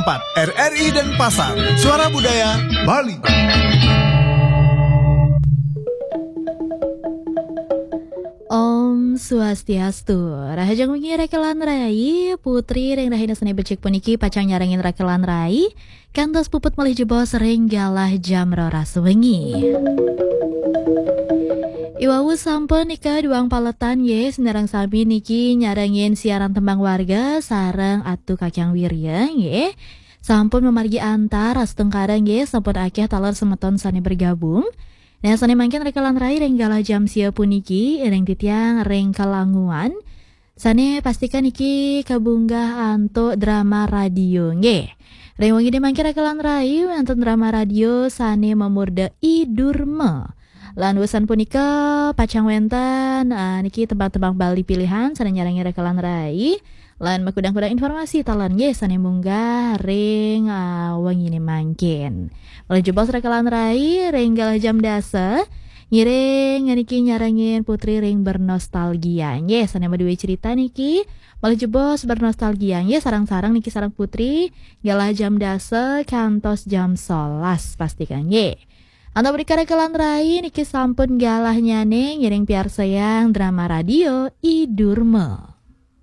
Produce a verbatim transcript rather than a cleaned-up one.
empat R R I Denpasar, Suara Budaya Bali. Om Swastiastu. Rahajeng wengi rekelan rai, Putri ring rahina Senin becik puniki pacang nyarengin rekelan rai kantos puput malih jebos ring galah jam roras wengi. Iwau sampun nika duang paletan nggih, sinareng sami niki nyarengin siaran Tembang Warga sareng Atu Kakang Wirya nggih. Sampun mamargi antar astungkara nggih, sampun akeh taler semeton sane bergabung. Nah, sane mangkin rekelan rai ring galah jam sia puniki, ring titiang ring kalanguan. Sane pastikan niki kabunggah antuk drama radio nggih. Ring wengi mangkin rekelan rai wenten drama radio sane mamurda I Durma. Lan wusan punika pacang wenten, ah, niki tembang-tembang Bali pilihan sane nyarengi rekelan rai. Lan makudang-kudang informasi taler nggih sane munggah ring, ah, wengine mangkin. Malih jebos rekelan rai ring galah jam dasa. Ngiring niki nyarengin Putri ring bernostalgia nggih, sane madue cerita niki. Malih jebos bernostalgia nggih, sareng-sareng niki sareng Putri galah jam dasa kantos jam solas pastikan nggih. Antuk menika rekelan rai niki sampun galahnyane ngiring piarsayang drama radio I Durma.